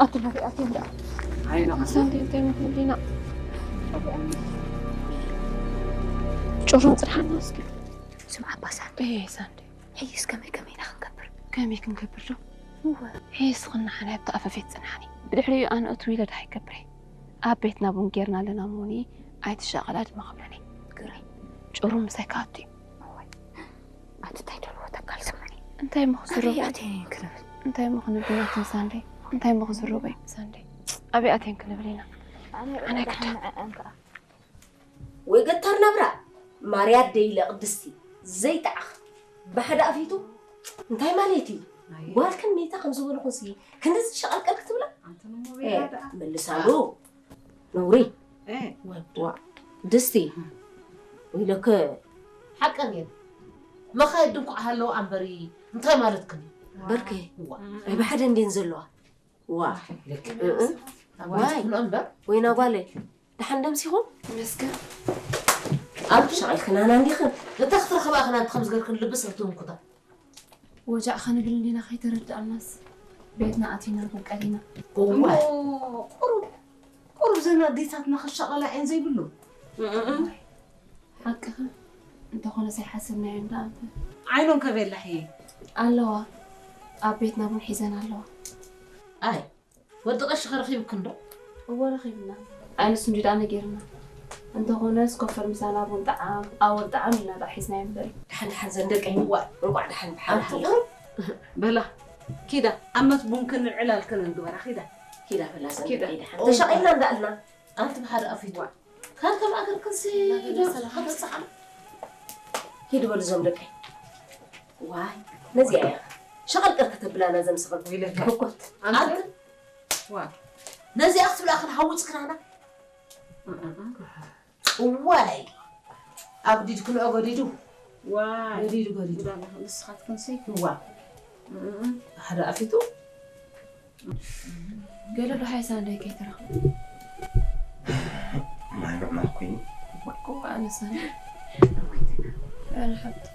ኣቲ ናተይ ኣቲ እንዳ ዓይና ሳንዴ እንታይ መፍልዲና ጭሩም ፅንሓና እስኪ ስምዓ ባሳንዴ እየ ሳንዴ ሕይስ ከመይ ከመይ ኢና ክንገብር ከመይ ክንገብር ዶ ሕይስ ኽናሓና ኣብቲ ኣፈፌት ፅንሓኒ ብድሕሪኡ ኣነ እትው ኢለ ድሃይ ገብረ ኣብ ቤትና ቡን ጌርና ኣለና እሞኒ ኣይትሻቐላ ድማ ክብለኒ ግረይ ጭሩም ምሳይ ካኣቱ እዩ ኣቲ እንታይ ደልዎ ተካል ስምዒ እንታይ እሞ ክዝረቡ ኣቲ ክንብል እንታይ እሞ ክንብል ናትም ሳንዴ እንታይ እሞ ክዝረቡ እዩ ሳንዴ ኣብይ ኣትየን ክንብል ኢና ኣነ ኣይከዳን ወይ ገታር ናብራ ማርያ ደይለ ቅድስቲ ዘይጣዕኽ ብሓደ ኣፊቱ እንታይ ማለት እዩ ጓልክን ሜታ ከም ዝበልኹን ሲ ክንድዚ ሸቐልቀል ክትብላ መልሳሉ ነውሪ ድስቲ ኢለከ ሓቀን እየን መኻየድ ድንኳዕ ሃለዋ ኣንበሪ እንታይ ማለትክን እዩ በርከ ብሓደ እንዴን ዘለዋ ዋ ዋይ ወይና ጓለይ ደሓን ደምሲኹም መስገን ኣብቲ ሸቐልክናና እንዲኽን እታ ክትረኽባ ክና ከምዚ ገርክን ልቢ ሰብ ትህንኩታ ወጃዕ ከንብል እንዲና ከይተረዳእናስ ቤትና ኣቲና ቁቀሊና ቁሩብ ቁሩብ ዘን ኣዴታትና ክሻቐላ እየን ዘይብሉ ሓቅኻ እንተኾነ ሳይሓሰብናዮ እንዳ ኣንተ ዓይኖም ከቤላ ሕየ ኣለዋ ኣብ ቤትና እውን ሒዘን ኣለዋ ኣይ ወዲ ቀሺ ከረኺብክን ዶ እወ ረኺብና ኣይንሱ እንዲ ደኣ ነጊርና እንተኾነስ ኮፈር ምሳና ቡን ጠዓም ኣወል ጠዓም ኢልና ደኣ ሒዝናዮ እምበር ደሓን ደሓን ዘን ደቀይ እዋ እንቋዕ ደሓን ብሓንቲ በላ ኪዳ ኣመት ቡንክን ዕላልክን እንግበራ ኪዳ ኪዳ በላ ዘን ደቀይ ደሓን ተሻቒልና እንዳእልና ኣንቲ ብሓደ ኣፊትዋ ካብ ከም ኣገር ክንሲ ዶ ከተብፅሓ ኪድ በሉ ዞም ደቀይ ዋይ ነዚኣ እያ ሸቐልቀል ከተብላና ዘምስቐል ሕኮት ኣንቲ ነዚኣ ክትብላ ክንሃውፅ ክናና እዋይ ኣጉዲድክንኦ ገዲዱ ዋይ ገዲዱ ገዲዱ ንስኻትክን ሰይትዋ ሓደ ኣፊቱ ገለ ዶ ሓይሳ እንዳይ ከይተረኽቡ ማይ ምዕማኽ ኮይኑ እዋ ኣነሳኒ ሓብቲ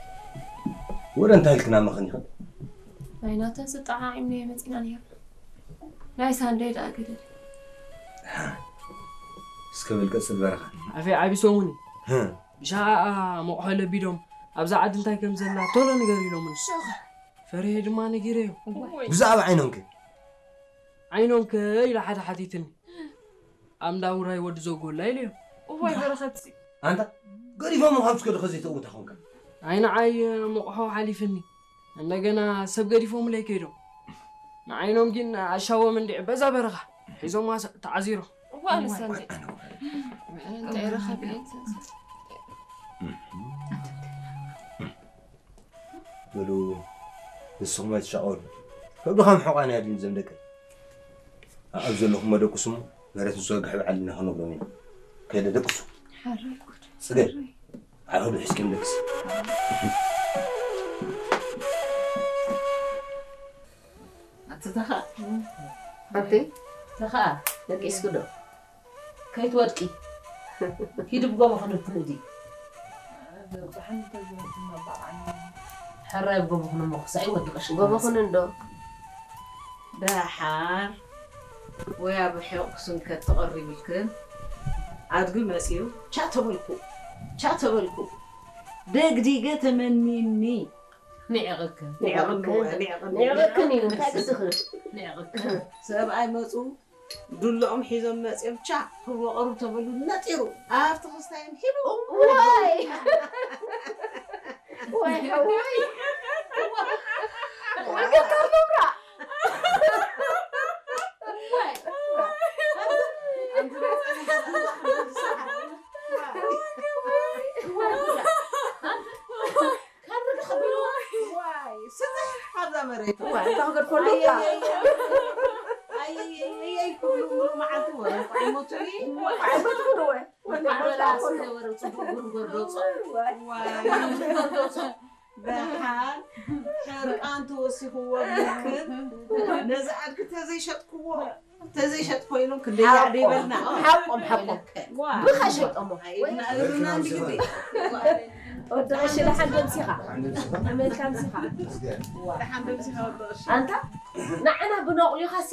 ወረ እንታይ ኢልክና መኸን ይኽእል ናይ ናተን ስጣዓዒምና የመፂና ነይርና ናይ ሳንደይ ደኣ ገደል እስከ በል ቀፅል በረኻ ኣፌ ዓቢ ሰሙን እዩ ብሻዓ ሞቕሖ ለቢዶም ኣብዛ ዓዲ እንታይ ከም ዘላ ቶሎ ንገር ኢሎምኒ ፈሪሄ ድማ ነጊረዮ ብዛዕባ ዓይኖምከ ዓይኖምከ ኢላ ሓደ ሓቲትኒ ኣብ እንዳ ውራይ ወዲ ዘጎላ ኢለዮ እዋይ በረኸትሲ ኣንታ ገዲፎም ካብ ዝከዱ ከዘይተእውታ ኾንካ ኣይ ንዓይ ሞቕሖ ሓሊፍኒ እንደገና ሰብ ገዲፎምለይ ከይዶም ንዓይኖም ግን ኣሻዎም እንዲዕ በዛ በረኻ ሒዞም ተዓዚሮም እዋ ኣነሳ እንታይ ረኸብ በሉ ንስኹም ኣይትሻቐሉ ከብድኻ ምሕቋን እያ ድዩ ዘም ደቂ ኣብ ዘለኹም መደቁስሞ መሬት ንስወግሕ በዓል ኢና ክነግሮም ኢና ከይደ ደቅሱ ጽገ ዓኸዱ ሒዝኪ ንደቅስ ኣትተኻ ኣንተ ተኻ ደቂስኩ ዶ ከይትወድቂ ሂዲ ብጎቦ ክንብትንዲ ሕራይ ብጎቦ ክንሞ ክሳይ ወድቀሽ ጎቦ ክንንዶ ደሓር ወይ ኣብ ሕቕ ክስንከት ተቐሪብልክን ኣድጊ መፅዩ ቻ ተበልኩ ቻ ተበልኩ ደግዲገ ተመኒኒ ንዕቕክን ንዕቕክን እዩ እንታይ ግድኽን ንዕቕክን ሰብኣይ መፁ ዱላኦም ሒዞም መፅዮም ቻ ክወቐሩ ተበሉ ነጢሩ ኣብቲ ክስታዮም ሂቡ ዋይ ዋይ ሓወይ ወገታ መብራ ካብዛ መሬት ተኽገድ ከሎ ኣየየየይ ክብሉ ሙሉ መዓልቲ ወረ ኣይሞቱኒ ኣይሞትኩን ወይ ወረ ፅቡቅ ጉርጎር ደውፆ ደሓን ሕርቃን ተወሲኽዎ ምክር ነዚ ኣድጊ ተዘይሸጥክዎ ተዘይሸጥኮ ኢሎም ክንደይ ይበልና ሓቆም ሓቆም ብኻ ሸይጦሞ እግርና እንዲግዲ ወዲ ቀሺ ደሓን ደምሲኻ። ኣመልካ ምሲኻ። ኣንታ ንዓና ብነቑሊኻ ሲ